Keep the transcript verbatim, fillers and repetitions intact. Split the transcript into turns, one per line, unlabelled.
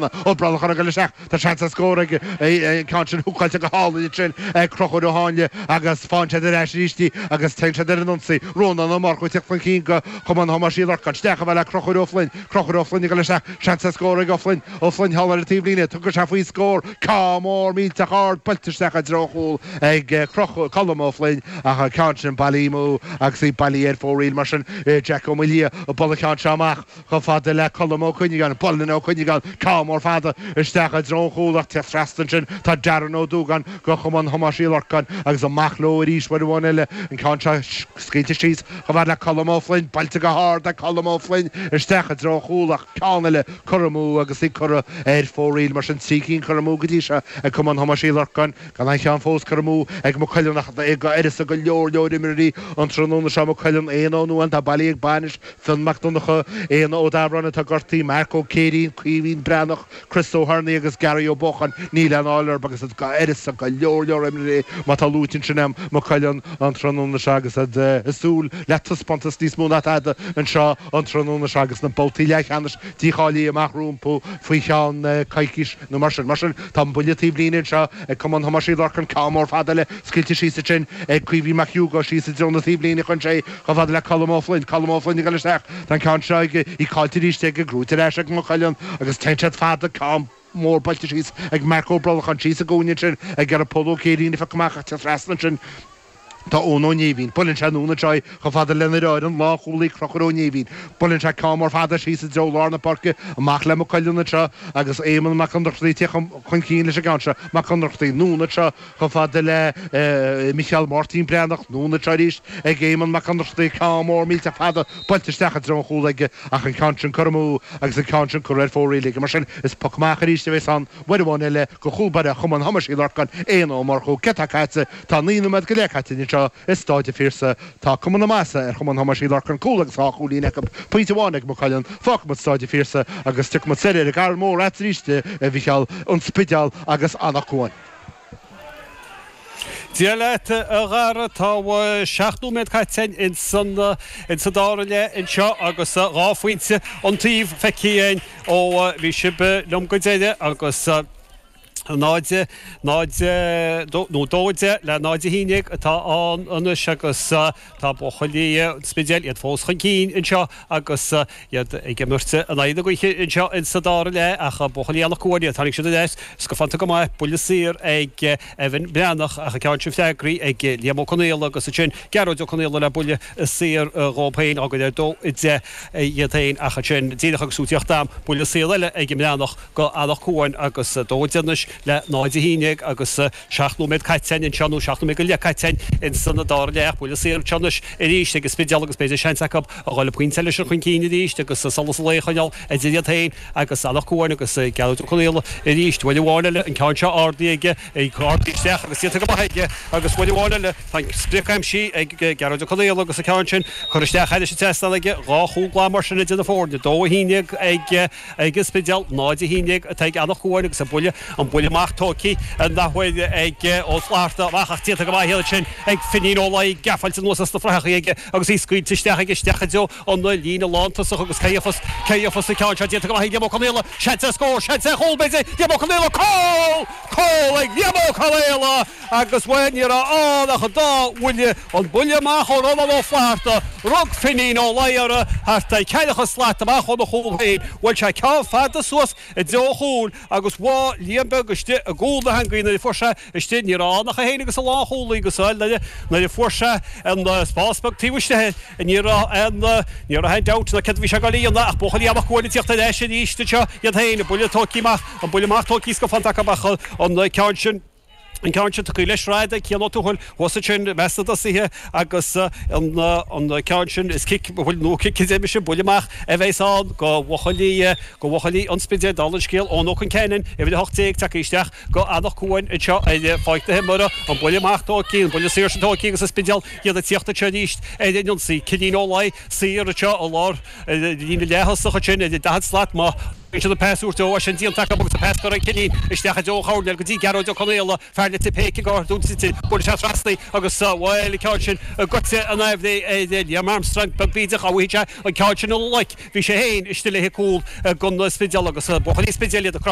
Ó Brolachan ag dul isteach, tá seans ar scór ag an ceann sin húcáilte go hálainn ansin ag Conchúr Ó Háinle agus faigheann siad ar ais arís í agus téann siad ar an ionsaí. Rónán Ó Murchú ag teacht chun cinn do Chumann Thomáis Uí Lorcáin. Isteach chomh fada le Conchúr Ó Floinn. Conchúr Ó Floinn ag dul isteach, seans ar scór ag Ó Floinn. Ó Floinn thall ar an taobhlíne, tugann sé faoi scór. Ceann mór millteach ard buailte isteach i dtreo an chúil ag Colm Ó Floinn ach an ceann sin bailithe amú agus í bailithe ar fóraoil mar sin Jack Ó Maoildhia ag bualadh an ceann seo amach. Chomh fada le Colm Ó Cuinneagáin, buaileann Ó Cuinneagáin ceann mór fada isteach i dtreo an chúil ach teacht trasna ansin tá Darren Ó Dúgáin do Chumann Thomáis Uí Lorcáin agus amach leo arís uair amháin eile, an ceann seo scaoilte síos chomh fada le Colm Ó Floinn, buailte go hard ag Colm Ó Floinn isteach i dtreo an chúil ach ceann eile curtha amú agus í curtha ar fóraoil mar sin trí cinn curtha amú go dtí seo ag Cumann Thomáis Uí Lorcáin. Gan aon cheann fós curtha amú ag Maigh Cuilinn ach ag uireasa go leor leor imreoirí an tráthnóna seo, Maigh Cuilinn, Éanna Ó Nuadháin atá bailithe ag bainis, Fionn Mac Donncha, Éanna Ó Dabhráin atá gortaithe, Marc Ó Céirín, Caoimhín Breathnach, Chris Ó hEarnaigh agus Gary Ó Buacháin, níl aon fháil orthu agus uireasa go leor leor imreoirí má tá luaite ansin a'm, Maigh Cuilinn an tráthnóna seo agus iad ag súil le taispeántas níos mó ná tada anseo an tráthnóna seo agus na babhtaí leathcheannais dícháilithe amach rompu faoi cheann coicís nó mar sin. Mar sin, tá an buille taobh líne anseo ag Cumann Thomáis Uí Lorcáin, ceann mór fada eile scaoilte síos ansin ag Caoimhín Mac Hugo síos i dtreo na taobhlíne chun sé chomh fada le Colm Ó Floinn. Colm Ó Floinn ag dul isteach. Tá an ceann seo aige, í caillte arís aige, gnóite ar ais ag Maigh Cuilinn agus téann siad fada, ceann mór buailte síos ag Marc Ó Brolacháin síos i gcúinne ansin ag iarraidh Pól Ó Céirín a phiocadh amach ach trasna ansin Tá Eoin Ó Néimhín. Buaileann sé anonn anseo í chomh fada lena dheartháir, an lánchúlaí Conchúr Ó Néimhín. Buaileann sé ceann mór fada síos i dtreo lár na páirce, amach le Maigh Cuilinn anseo agus Éamonn Mac Ionnrachtaigh ag teacht chun cinn leis an gceann seo. Mac Ionnrachtaigh anonn anseo chomh fada le Micheál Máirtín Breathnach. Anonn anseo arís ag Éamonn Mac Ionnrachtaigh, ceann mór millteach fada buailte isteach i dtreo an chúil aige ach an ceann sin curtha amú agus an ceann sin curtha ar fóraoil aige. Mar sin, is poc amach arís a bheas ann uair amháin eile do chúl báire Chumann Thomáis Uí Lorcáin, Éanna Ó Murchú. Céard atá caite? Tá naoi nóiméad go leith caite anseo i Stáid an Phiarsaigh. Tá cuma na maitheasa ar Chumann Thomáis Uí Lorcáin, cúl agus dhá chúilín acu, pointe amháin ag Maigh Cuilinn. Fágfaidh muid Stáid an Phiarsaigh agus tiocfaidh muid soir ar an gCarn Mór agat arís, a Mhicheáil, An Spidéal agus Anach Cuain.
Dia leat, a Dhara. Tá seacht nóiméad caite againn ins an dara leath anseo agus dhá phointe an taobh feicthe againn ó bhí sibh liom go deireadh agus náid, náid, nó dó deich le náid a haon déag atá ann anois agus tá buachaillí an Spidéil, iad fós chun cinn anseo agus iad ag imirt in aghaidh na gaoithe anseo in sa dara leath ach buachaillí Anach Cuain, iad, tháinig siad ar ais scafánta go maith, buille saor ag Evan Breathnach ach an ceann sin freagraithe ag Liam Ó Conaola agus ansin Gearóid Ó Conaola le buille saor dhóibh féin, á gcur ar dó a deich iad féin ach ansin díreach agus tú ag tíocht agam, buille saor eile ag an mBreathnach. go Anach Cuain agus dó deich anois le náid a haon déag agus seacht nóiméad caite againn anseo, nó seacht nóiméad go leith caite againn ins an dara leath. Buille saor anseo anois arís ag an Spidéal agus b'fhéidir seans acu a dhul pointe eile sin chun cinn arís agus solas an lae a choinneáil idir iad féin agus Anach Cuain agus Gearóid Ó Conaola arís. Uair amháin eile an ceann seo ardaithe aige, ardaithe isteach agus déanta go maith aige agus uair amháin eile tá an sprioc aimsithe ag Gearóid Ó Conaola agus an ceann sin curtha isteach thairis an trasnán aige. Dhá chúl glan mar sin idir na foirne, dó a haon déag ag Ag an Spidéal, náid a haon déag atá ag Anach Cuain agus an buille, an buille amach tógtha an athuair ag Ó Flatharta amach ach déanta go maith ansin ag Finín Ó Laoi, geafáilte anuas as na fraitheachaí aige agus í scaoilte isteach aige isteach i dtreo an líne lántosach agus cé gheofas, cé gheofas an ceann seo déanta go maith ag Liam Ó Conaola, seans ar scór, seans ar chúl b'fhéidir, Liam Ó Conaola, cúl! Cúl ag Liam Ó Conaola agus bhuel ní raibh ann ach an dá bhuille, an buille amach ó Rónán Ó Flatharta, rug Finín Ó Laoi air thart ar ceathracha slat amach óna chúl féin, bhuail sé ceann fada suas i dtreo an chúil agus bhí Liam Beag istigh i gcúl na heangaí nuair a fuair sé istigh, ní raibh ann ach é féin agus an lánchúlaí agus bhuel nuair a fuair sé an spás beag taobh istigh ní raibh aon ní raibh aon dabht ná céard a bhí sé ag dul a dhéanamh ach buachaillí Anach Cuain ag tíocht ar ais arís anseo iad féin, an buille tógtha amach, an buille amach tógtha scafánta acu ach an ceann sin. An ceann sin tugtha le sraid ag Cian Ó Tuathail thuas ansin i measc na dtosaithe agus an ceann sin is cic, bhuel nó cic a deir mise, buille amach a bheas ann go bhuachaillí, go bhuachaillí an Spidéil, dála an scéil, Eoin Ó Conceanainn, uimhir a hocht déag, tagtha isteach go Anach Cuain anseo ar pháirc na himeartha, an buille amach tógtha, an buille saor sin tógtha agus an Spidéal iad ag tíocht anseo arís ar an ionsaí. Cinín Ó Laoi saor anseo i lár líne leath-thosach ansin ar an daichead slat má. Bíonn siad ag pas a thabhairt dó, sin déanta acu agus an pas curtha chun cinn isteach i dtreo an choirnéil go dtí Gearóid Ó Conaola, fear Leitir Péic i gcathair Dún Tite. Buaileann sé trasna í agus bhuel an ceann sin goite in aimhréidh ar Liam Armstrong, beag bídeach á bhfaighidh sé an ceann sin ina ghlaic. Bhí sé féin istigh le cúl don Spidéal agus buachaillí Spidéil iad ag croitheadh.